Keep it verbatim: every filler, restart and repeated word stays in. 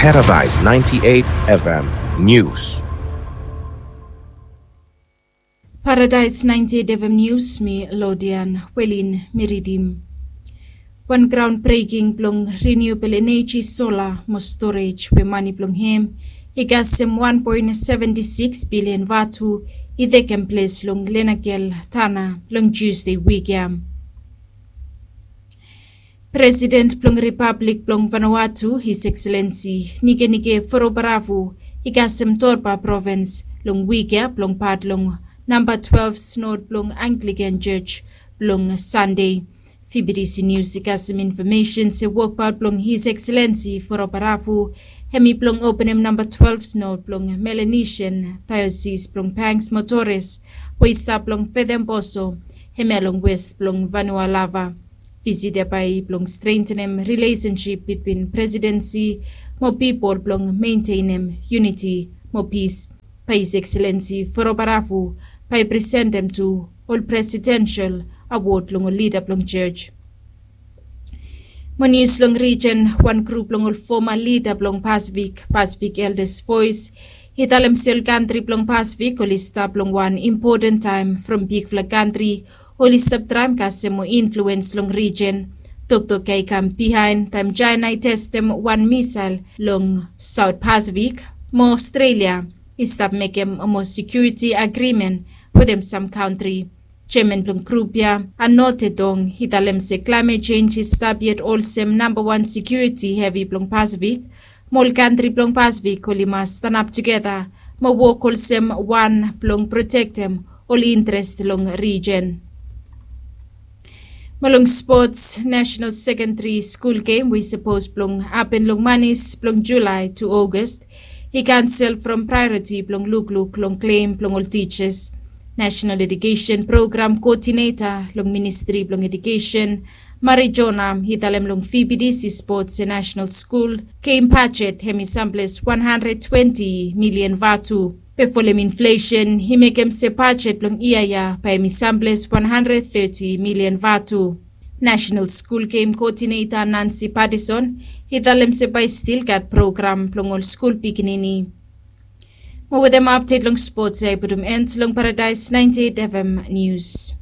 Paradise ninety-eight F M News. Paradise ninety-eight F M News, mi Lodian Welin mi ridim. Wan groundbreaking blong renewable energy solar mo storage we mane blong hem i kasem wan poen seventi sikis bilian vatu i tekem ples long Lenagel Tana long Tuesday wik ya. President blong Republik blong Vanuatu, His Excellency Nikenike Vurobaravu, i kasem Torba Provins long wik ya blong pat long namba twelve Synod blong Anglican Church blong Sande. Fibidisi Nius i kasem infomesen se wokbaot blong His Excellency Vurobaravu hemi blong openem namba twelve Synod blong Melanesian Diocese blong Banks mo Torres we i stap long Fedemboso, hemia long west blong Vanua Lava. Visit ya bae i blong strengtenem rilesensip bitwin presidensi mo pipol blong mentenem yuniti mo pis. Bae His Excellency Vurobaravu bae i presentem tu ol presidensel awod long ol lida blong church. Mo nius long rijen, wan grup blong ol foma lida blong Pasifik, Pacific Elders Voice, i talem se ol kantri blong Pasifik oli stap long wan impoten taem from bigfala kantri oli stap traem kasem mo influens long rijen. Toktok ya i kam bihaen taem Jaena i testem wan misael long Saot Pasifik, mo Aostralia i stap mekem mo sekiuriti agrimen wetem sam kantri. Jeaman blong grup ya, Anote Tong, i talem se klaemet jenj i stap yet olsem nambawan sekiuriti hevi blong Pasifik, mo ol kantri blong Pasifik oli mas stanap tugeta mo wok olsem wan blong protektem ol interes long rijen. Mo long spots, Nasenal Sekendari Skul Gem we i sapos blong hapen long manis blong Julae tu Ogas i kansel from praeoriti blong lukluk long klem blong ol tijas. Nasenal Edukesen Program Koodineta long Ministri blong Edukesen, Mari Jona, i talem long Fibidisi spots se nasenal skul gem bajet hemi samples wan handred twenti milian vatu. Be folem inflesen i mekem se bajet blong yia ya bae hemi samples wan handred teti milian vatu. Nasenal Skul Gem Koodineta Nansi Patison i talem se bae i stil gat program blong ol skul pikinini. Mo wetem apdet long spots ya i putum en long Paradaes naenti eit F M Nius.